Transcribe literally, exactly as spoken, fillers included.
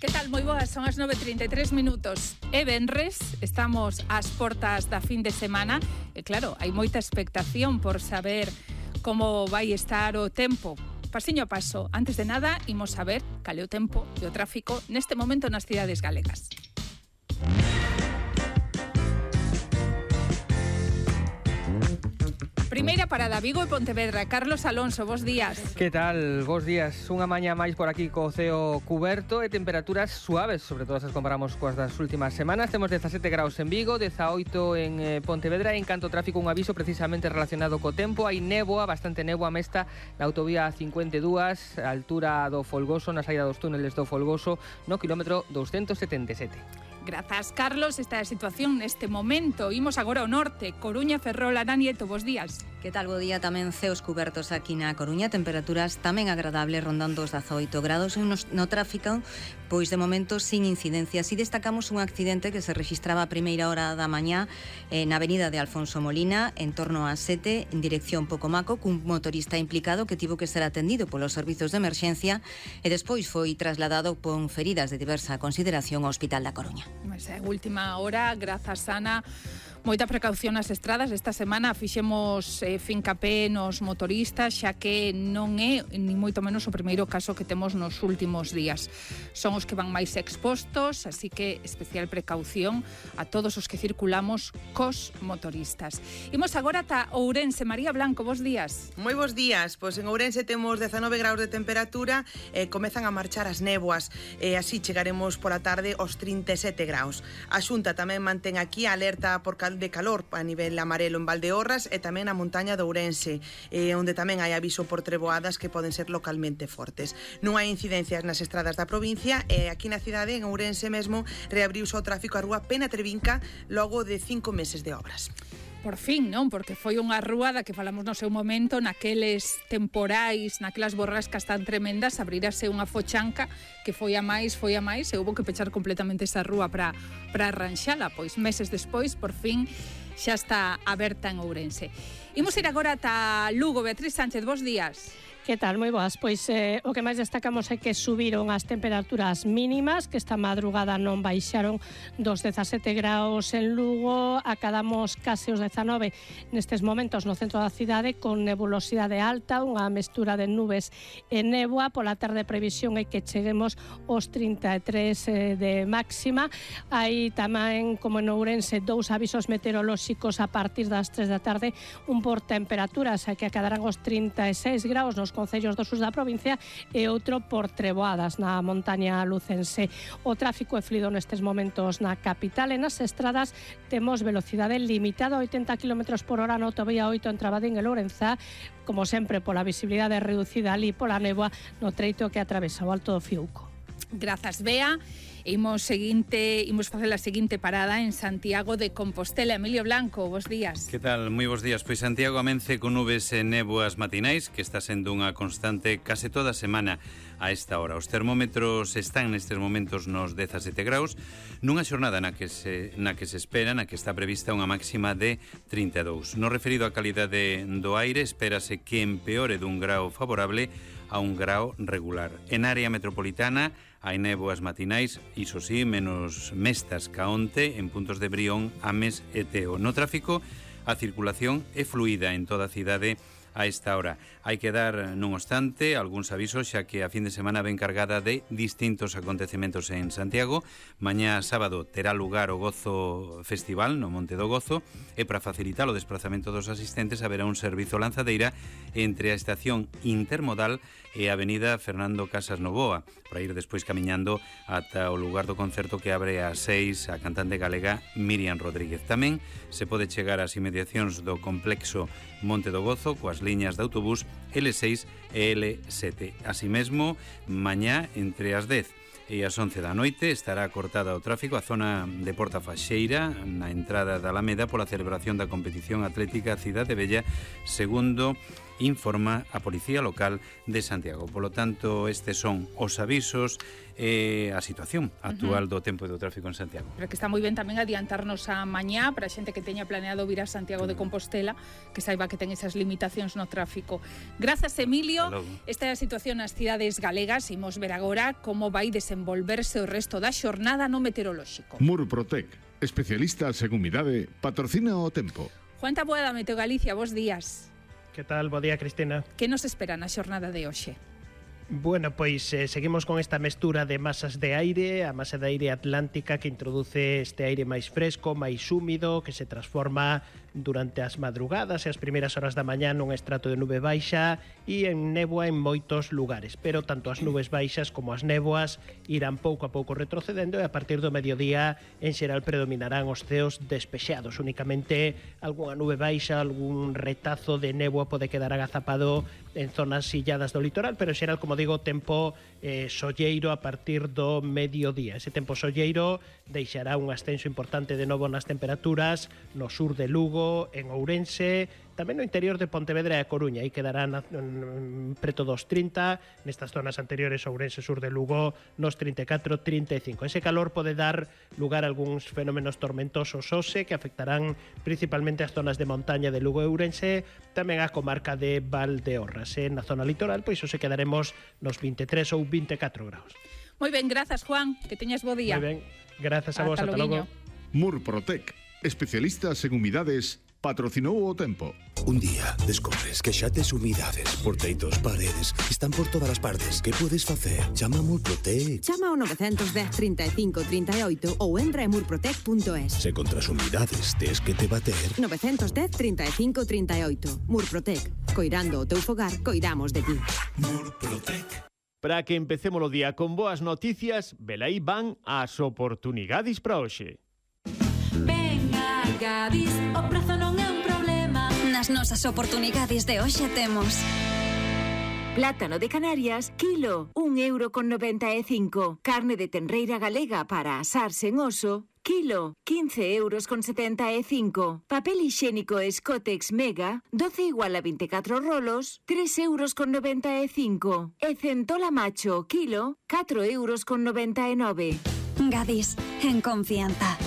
Que tal? Moi boas, son as nove e trinta e tres minutos. É venres, estamos ás portas da fin de semana e claro, hai moita expectación por saber como vai estar o tempo. Pasiño a paso, antes de nada, imos saber cal é o tempo e o tráfico neste momento nas cidades galegas. Primeira parada, Vigo e Pontevedra. Carlos Alonso, bos días. Que tal? Bos días. Unha mañá máis por aquí co ceo cuberto e temperaturas suaves, sobre todo se as comparamos coas das últimas semanas. Temos dezasete graus en Vigo, dezaoito en eh, Pontevedra. En canto ao tráfico, un aviso precisamente relacionado co tempo. Hai néboa, bastante néboa mesta na autovía cincuenta e dúas, a altura do Folgoso, na saída dos túneles do Folgoso, no quilómetro doscientos setenta e sete. Grazas, Carlos. Esta é a situación neste momento. Imos agora ao norte. Coruña, Ferrol, Ana Nieto, bos días. Que tal, bo día? Tamén ceos cubertos aquí na Coruña, temperaturas tamén agradables, rondando os dezaoito grados. No, no tráfico, pois de momento sin incidencias. E destacamos un accidente que se registraba a primeira hora da mañá eh, na avenida de Alfonso Molina, en torno a sete, en dirección Pocomaco, cun motorista implicado que tivo que ser atendido polos servizos de emerxencia e despois foi trasladado con feridas de diversa consideración ao Hospital da Coruña. Mas é última hora, grazas, Ana. Moita precaución nas estradas. Esta semana fixemos eh, fincapé nos motoristas, xa que non é ni moito menos o primeiro caso que temos nos últimos días. Son os que van máis expostos, así que especial precaución a todos os que circulamos cos motoristas. Imos agora ata Ourense. María Blanco, bos días. Moi bos días. Pois en Ourense temos dezanove graus de temperatura, eh, comezan a marchar as néboas, e eh, así chegaremos pola tarde aos trinta e sete graus. A Xunta tamén mantén aquí a alerta por cal de calor a nivel amarelo en Valdeorras e tamén na montaña de Ourense, eh, onde tamén hai aviso por treboadas que poden ser localmente fortes. Non hai incidencias nas estradas da provincia e aquí na cidade, en Ourense mesmo, reabriuse o tráfico a rúa Pena Trevinca logo de cinco meses de obras. Por fin, non? Porque foi unha rúa da que falamos no seu momento, naqueles temporais, naquelas borrascas tan tremendas, abrirase unha fochanca que foi a máis, foi a máis, e houve que pechar completamente esa rúa para para arranxala. Pois meses despois, por fin, xa está aberta en Ourense. Imos ir agora ata Lugo. Beatriz Sánchez, bos días. Que tal? Moi boas. Pois eh, o que máis destacamos é que subiron as temperaturas mínimas, que esta madrugada non baixaron dos dezasete graus en Lugo, acadamos case os dezanove nestes momentos no centro da cidade, con nebulosidade alta, unha mestura de nubes e néboa. Pola tarde previsión é que cheguemos aos trinta e tres eh, de máxima. Hai tamén, como en Ourense, dous avisos meteorolóxicos a partir das tres da tarde, un por temperaturas, que acadarán os trinta e seis graus nos concellos do sur da provincia e outro por treboadas na montaña lucense. O tráfico é fluido nestes momentos na capital e nas estradas temos velocidade limitada a oitenta kilómetros por hora na autovía oito entre Abadín e Lourenzá, como sempre pola visibilidade reducida ali pola néboa no treito que atravesa o Alto do Fiuco. Grazas, Bea. Imos seguinte, imos facer a seguinte parada en Santiago de Compostela. Emilio Blanco, bos días. Que tal? Moi bos días. Pois Santiago amence con nubes e néboas matinais, que está sendo unha constante case toda a semana a esta hora. Os termómetros están nestes momentos nos dezasete graus, nunha xornada na que se na que se espera, na que está prevista unha máxima de trinta e dous. No referido á calidade do aire, espérase que empeore dun grau favorable a un grau regular. En área metropolitana hai néboas matinais, iso sí, menos mestas ca onte en puntos de Brión, Ames e Teo. No tráfico, a circulación é fluida en toda a cidade a esta hora. Hai que dar, non obstante, algúns avisos, xa que a fin de semana ven cargada de distintos acontecementos en Santiago. Mañá sábado terá lugar o Gozo Festival no Monte do Gozo, e para facilitar o desplazamento dos asistentes haberá un servizo lanzadeira entre a estación intermodal e a avenida Fernando Casas Novoa, para ir despois camiñando ata o lugar do concerto que abre ás seis a cantante galega Miriam Rodríguez. Tamén se pode chegar ás inmediacións do complexo Monte do Gozo coas liñas de autobús L seis e L sete. Así mesmo, mañá entre as dez e as once da noite estará cortada o tráfico a zona de Porta Faxeira na entrada da Alameda pola celebración da competición atlética Cidade Bella, segundo informa a Policía Local de Santiago. Polo tanto, estes son os avisos e eh, a situación actual uh-huh. do tempo e do tráfico en Santiago. Pero que está moi ben tamén adiantarnos a mañá para a xente que teña planeado vir a Santiago de Compostela, que saiba que ten esas limitacións no tráfico. Grazas, Emilio. Esta é a situación nas cidades galegas. Imos ver agora como vai desenvolverse o resto da xornada no meteorolóxico. Murprotec, especialista en humidade, patrocina o tempo. Juan Taboada, Meteo Galicia, bos días. Que tal? Bo día, Cristina. Que nos espera na xornada de hoxe? Bueno, pois eh, seguimos con esta mestura de masas de aire, a masa de aire atlántica que introduce este aire máis fresco, máis húmido, que se transforma durante as madrugadas e as primeiras horas da mañá nun estrato de nube baixa e en néboa en moitos lugares, pero tanto as nubes baixas como as néboas irán pouco a pouco retrocedendo e a partir do mediodía en xeral predominarán os ceos despexados. Únicamente algunha nube baixa, algún retazo de néboa pode quedar agazapado en zonas silladas do litoral, pero en xeral, como digo, tempo eh, solleiro a partir do mediodía. Ese tempo solleiro deixará un ascenso importante de novo nas temperaturas no sur de Lugo, en Ourense, tamén no interior de Pontevedra e a Coruña. Aí quedarán preto dos trinta, nestas zonas anteriores, Ourense, sur de Lugo, nos trinta e catro, trinta e cinco. Ese calor pode dar lugar a algúns fenómenos tormentosos hoxe que afectarán principalmente as zonas de montaña de Lugo e Ourense, tamén a comarca de Valdeorras. E na zona litoral, pois hoxe quedaremos nos vinte e tres ou vinte e catro graus. Moi ben, grazas, Juan, que teñas bo día. Moi ben, grazas a vos, ata logo. Murprotec, especialistas en humidades, patrocinou o tempo. Un día descobres que xa tes humidades por teitos, paredes, están por todas as partes. Que podes facer? Chama a Murprotec. Chama ao nove un cero, trinta e cinco, trinta e oito ou entra en murprotec punto es. Se contra as humidades tes que te bater. nove un cero, trinta e cinco, trinta e oito. Murprotec. Coirando o teu fogar, coidamos de ti. Murprotec. Para que empecemos o día con boas noticias, velaí van as oportunidades para hoxe. Venga, Gadis, o prezo non é un problema. Nas nosas oportunidades de hoxe temos plátano de Canarias, kilo, un euro con noventa e cinco. Carne de tenreira galega para asar sen oso, kilo, quince euros con setenta e cinco. Papel higiénico Scotex Mega, doce igual a veinticuatro rolos, tres euros con noventa e cinco. E centola macho, kilo, catro euros con noventa e nove. Gadis, en confianza.